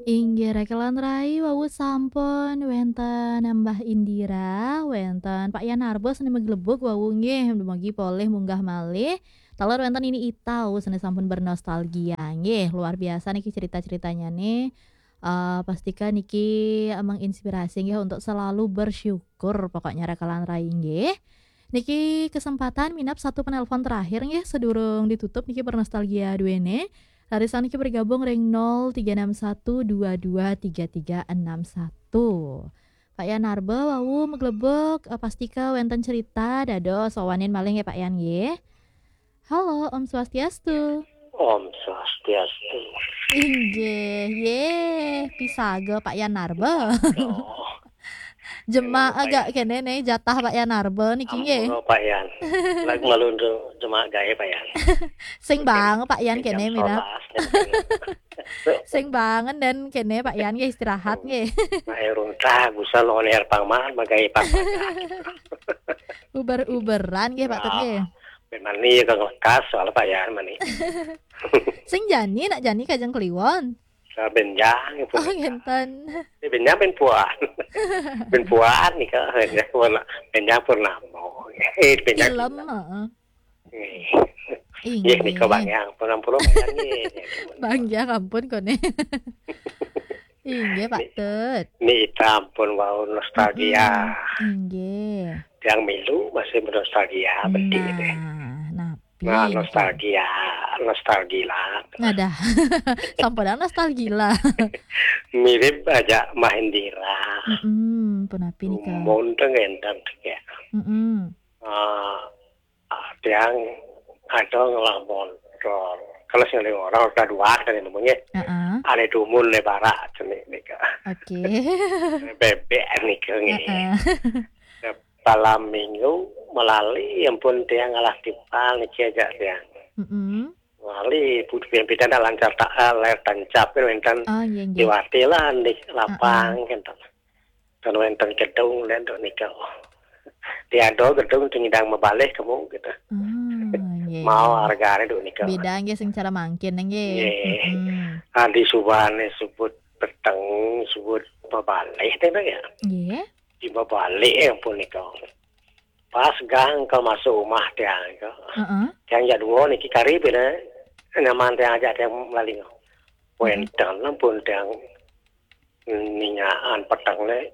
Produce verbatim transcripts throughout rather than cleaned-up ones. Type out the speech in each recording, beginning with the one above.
Inggih, Raka lan Rai, wau sampun wénten Mbah Indira, wénten Pak Yan Narba sané maglebug wau nggih, dumugi polih munggah malih. Taler wénten Nini Ita sané sampun bernostalgia nggih. Luar biasa niki cerita-ceritanya nih. Eh, pastika niki menginspirasi nggih untuk selalu bersyukur pokoknya Raka lan Rai nggih. Niki kesempatan minab satu penelpon terakhir nggih, sedurung ditutup niki bernostalgia duene. Raris niki bergabung ring nol tiga enam satu dua dua tiga tiga enam satu. Pak Yan Narba wau maglebug, eh, pastika wénten cerita, dados wawanin malih nggih Pak Yan nggih. Halo, Om Swastiastu. Om Swastiastu. Inggih, yeh, pisaga Pak Yan Narba. Jema agak kene nih jatah Pak Yan Narba niki nggih. Ampun, Pak Yan. Lagi malu untuk jema gawe, Pak Yan. Sing bang Pak Yan kene mina. Sing bangen dan kene Pak Yan nggih istirahat nggih. Mak urung tah, bisa lo leher pang mak, magawe pang. Uber-uberan nggih Pak Tut nggih. Memang ni ya kang lekas soal Pak Yan mani. Sing jani nak jani kajeng kliwon. Benjang pun. Oh, ngenten. Ini benjang ben puan. Ben puan nih kak. Benjang pun, benjang purnama. Eh, benjang. Film, heeh. Nggih. Nggih, nika Bang Yang, ampun, ampun, Bang Yang, nggih. Bang Yang, ampun, kone. Inggih, Pak Tut. Niki ampun wau nostalgia. Mm-mm. Inggih. Tiang milu masih bernostalgia, berarti deh. Nah, napi nika? Nostalgia, nostalgia. Ngadah. Sampeyan nostalgia. Mirip aja Mahendira. Mm-mm, punapi nika? Dumun teng enten ya. Mm-mm. Ah, ah, tiang ada ngelah motor. Kalau sing orang udah dua kan namanya. Heeh. Ada dumun le barak jenik nika. Oke. Bebek nika nggih. Heeh. Malam minggu melali ampun tiang ngalah timpal niki aja tiang. Mm-mm. Melali putih pimpin lancar tak, eh, layar tancap kan wénten. Oh, iya, iya. Diwati lah di lapang kan. Dan wénten gedung dan dok nika. Tiada gedung tingidang mabalih kamu gitu. Ah, iya, iya. Mau harganya dok nika. Beda nggih sing cara mangkin nggih. Nggih. Mm-mm. Ah, di subane sebut peteng, sebut mabalih teh ya. Nggih. Di mabalih ya ampun nika. Pas gang ke masuk rumah tiang ke. Heeh. Tiang ya dua niki kari beda. Nyaman tiang aja tiang melali. Heeh. Wénten ampun tiang ningaan peteng le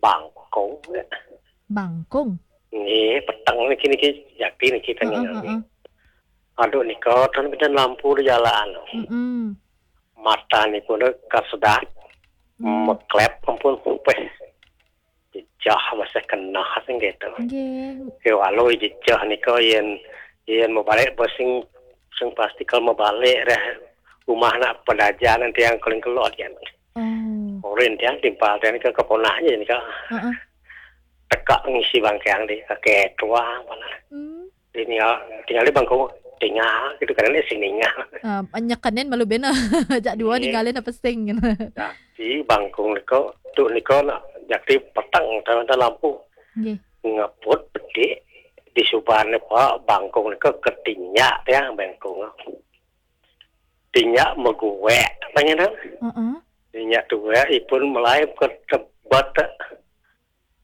bangkung. Bangkung? Nggih, peteng niki, niki jati niki teng. Heeh, nggih. Heeh. Aduh nika ten benten lampu di jalan. Mm-mm. Mata niku ne kasedak. Mm. Meklep ampun peh. Jejah masih kena sing gitu. Nggih. Ke walau jejah nika yen, yen mau balik bos sing, sing pasti kalau mau balik dah rumah nak pedaja nanti yang keling kelot kan. Oh. Orin tiang timpal tiang ke keponahnya nika. Heeh. Teka ngisi bangkeang di ketua mana. Hmm. Tinggal, tinggal di bangku tinggal gitu kan ini sing tinggal. Eh, nyekenin malu bena. Jak dua ninggalin apa sing gitu. Jadi bangkung nika, tu nika nak jadi peteng tanah lampu. Nggih. Ngeput bedik di subane Pak bangkung nika ketinyak ya bangkung. Tinyak meguek, pangenan. Heeh. Tinyak tuwek ipun melai ke tebet.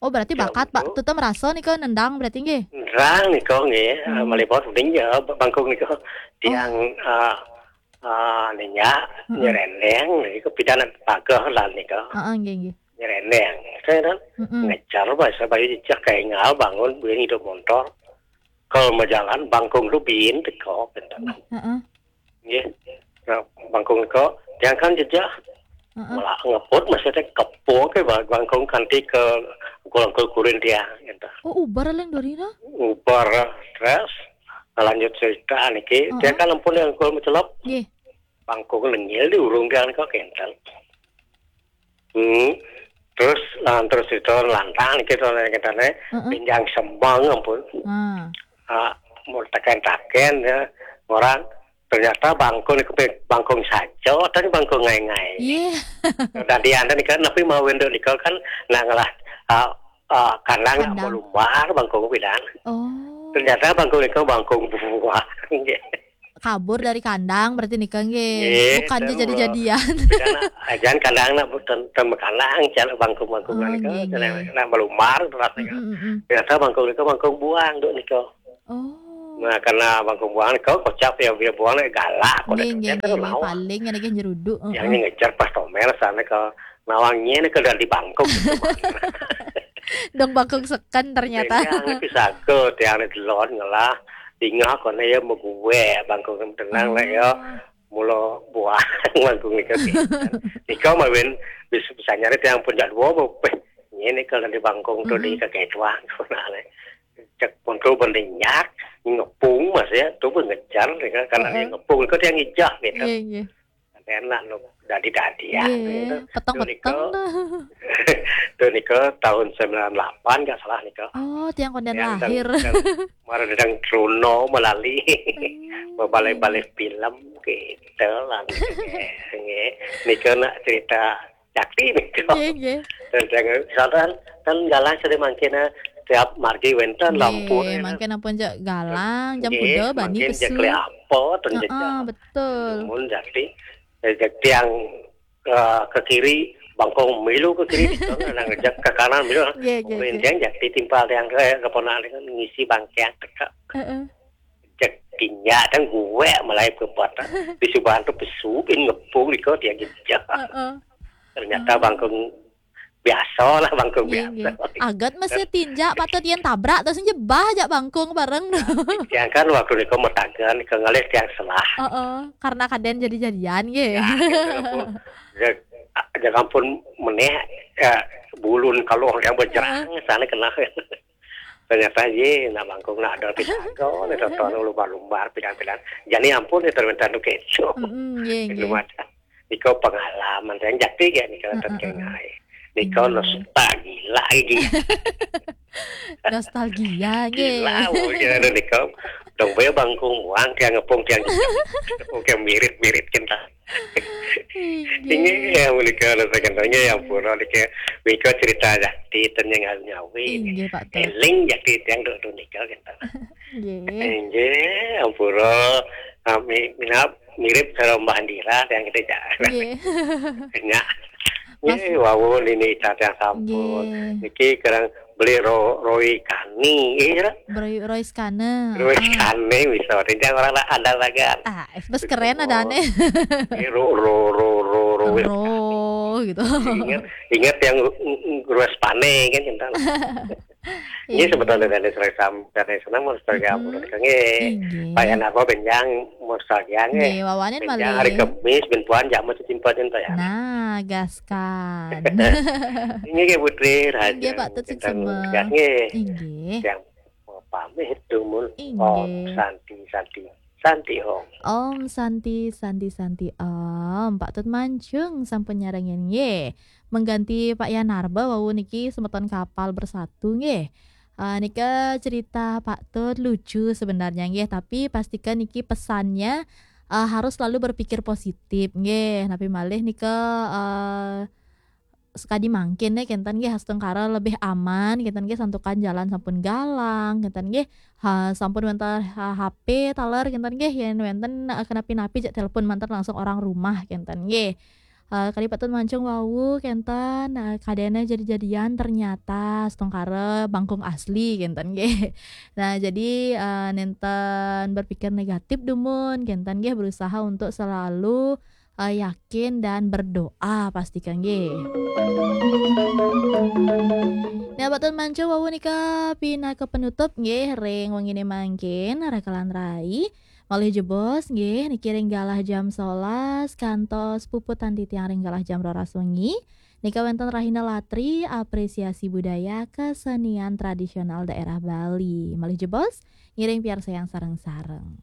Oh, berarti bakat, Pak. Tetep merasa nika nendang berarti nggih? Nendang nika nggih, hmm, meliput uning ya, bangkung nika. Tiang, oh, eh, eh, ninyak, hmm, nyerendeng, nika pidan pageh lah nika. Heeh, nggih, nggih. Nyerendeng. Saya kan, hmm, ngejar bahasa bayu jejak kaingal bangun, buin hidup motor. Kalau mau jalan, bangkung lu bin teko, pinten. Heeh. Nggih. Nah, bangkung nika, tiang kan jejak. Heeh. Malah ngeput, maksudnya kepo ke ba-, bangkung kanti ke kulang kurin tiang, gitu. Oh, ubar leng dorina? Ubar, terus lanjut cerita niki. Heeh. Tiang kan ampun yang kul mencelop. Nggih. Bangkung lengil di urung tiang nika kenten. Hmm. Terus, ah, terus itu lantang niki to, kita ne, heeh, pinjang sembang ampun. Hmm. Ah, mau taken-taken ya, orang ternyata bangkung niku pe-, bangkung saja, tapi bangkung ngai-ngai. Iya. Dadi anda nika, tapi mau wenduk nika kan, nak ngelah, ah, ah, kandang, kandang, nak melumbar bangkung pidan. Oh. Ternyata bangkung nika bangkung buah. Nggih. Kabur dari kandang berarti nika nggih. Nggih, bukan ten jadi-jadian. Beda nak, ajan kandang nak ten, ten kandang, jar bangkung-bangkung. Oh, nika, nggih, jar nggih. Nak melumar terus nika. Mm, mm, mm. Ternyata bangkung nika bangkung buang, Duk, nika. Oh. Nah, karena bangkung buang nika kocap ya, dia buang nika galak, kok nggih, nika nggih, kan nggih, nggih. Nawa. Paling ada nggih nyeruduk, yang heeh. Ngejar pas tomer sana ke nawangnya nika dari bangkung. Dong bangkung seken ternyata. Tiang nika sago, tiang nika delon ngelah. Tinggal kono ya meguwe bangkung tenang lah ya. Oh. Mula buang bangkung nika. Nika mawin bisa, bisa nyari tiang pun jadwal apa? Ini kalau di bangkung tuh di, mm-mm, kakek tuang. Nah, cek pun tuh berdenyak, ngepung Mas ya, tuh pun ngejar nika, karena dia, heeh, ngepung itu dia ngijah gitu. Iya, iya. Enak lo dadi-dadi ya. Iya, gitu. Peteng-peteng tuh nika. Tuh nika tahun sembilan delapan nggak salah nika. Oh, tiang konden lahir. Yang teng, teng, mara dedang Truno melali. Hmm. Bebalai-balai film gitu lah. Nggih. Nika nak cerita Jakti nika. Nggih, nggih. Dan jangan, misalkan kan galang sudah mangkin, eh, tiap margi wenten, nggih, lampu, ya, mangkin ampun jak galang, jam, nggih, kuda, bani, mangkin jak pesu. Keliapo, ten, heeh, jejak. Betul. Mun Jakti, eh, jak tiang, eh, ke kiri, bangkung milu ke kiri, nang jak ke kanan milu. Nggih, nggih, nggih. Tiang Jakti timpal tiang ke, ke ponak dengan ngisi bangkiang teka. Heeh. Jak tinjak dan gue mulai ke buat. Di subahan tuh pesu, bin ngepung nika tiang jejak. Heeh. Ternyata, oh, bangkung biasa lah, bangkung, nggih, biasa. Nggih. Agat mesti tinjak, patut yen tabrak, terus jebah jak bangkung bareng. Tiang kan waktu nika metagen, ke ngalih tiang selah. Heeh, karena kaden jadi-jadian, nggih. Ya, gitu, ampun. Jak, jak ampun meneh, ya, bulun kalau yang berjerang, heeh, sana kena. Ternyata, ye, nak bangkung nak ada pidato, nih, tonton lumbar-lumbar, pidang-pidang. Jadi ampun, nih, termintan tuh keco. Mm-mm, nggih, nggih. Lumacang. Nika pengalaman, saya Jakti ya, nika, heeh, terkenai. Nika, heeh, nostalgia lagi. Nostalgia, nggih. Gila, mungkin ada nika. Dong, boy bangkung, buang, tiang ngepung, tiang ngepung, tiang mirip-mirip, cinta. Inggih. Inggih, ya, menika, rasa gantengnya ya, ampura, nika, nika cerita Jakti, ten yang nyawi. Inggih, Pak Tut. Eling Jakti, tiang duk, duk nika, gitu. Nggih. Inggih, ampura, kami minap, mirip karo Mbah Andira, tiang kita, jak. Nggih. Nyak. Mas- nggih, wau nini, tiang sampun. Nggih. Niki kerang beli ro-, Roy Kani, iya, Ra? Roy, Roy Skane. Roy, ah, Skane bisa, tiang orang nak andal bagan. Ah, bes keren ada aneh. Ini ro, ro, ro, ro, ro, Roy Skane. Ro, gitu. Ingat, ingat yang ng-, ng-, Roy Spane kan, cinta. Ini, iya, sebetulnya dari Sri Sam-, dari senang mau sebagai, hmm, apa, nggih. Inggih. Pak Yan apa benjang nostalgia, nggih. Nggih, wawanin benjang malih. Hari Kemis, ben puan jamu cecimpa cinta ya. Nah, gaskan. Ini, nggih, Putri, Raja. Inggih, Pak Tut, kita suksema. Gas, nggih. Inggih. Yang mau pamit, dumun. Inggih. Om Santi, Santi, Santi Om. Om Santi, Santi, Santi Om. Pak Tut Mancung sampun nyarengin, nggih. Mengganti Pak Yanarba, wau niki semeton kapal bersatu, nggih. Eh, nika cerita Pak Tut lucu sebenarnya, nggih, tapi pastikan niki pesannya, eh, harus selalu berpikir positif, nggih. Napi malih nika, eh, sekadi mangkin, nggih, kenten, nggih, astungkara lebih aman, kenten, nggih, santukan jalan sampun galang, kenten, nggih. Ha, sampun wenten, ha, H P taler, kenten, nggih, yen wenten, eh, kenapi-napi, cek telepon mantar langsung orang rumah, kenten, nggih. Eh, kadi Pak Tut Mancung wau, kenten, eh, kadene jadi-jadian ternyata astungkara bangkung asli, kenten, nggih. Nah, jadi, eh, nenten berpikir negatif dumun, kenten, nggih, berusaha untuk selalu, eh, yakin dan berdoa pastikan, nggih. Nah, Pak Tut Mancung wau nika pinaka penutup, nggih, ring wengine mangkin, rakalan rai. Malih jebos, nggih, niki ring galah jam sebelas, kantos puput titiang ring galah jam roras wengi. Nika wenten Rahina Latri, apresiasi budaya kesenian tradisional daerah Bali. Malih jebos, ngiring piarsayang sareng-sareng.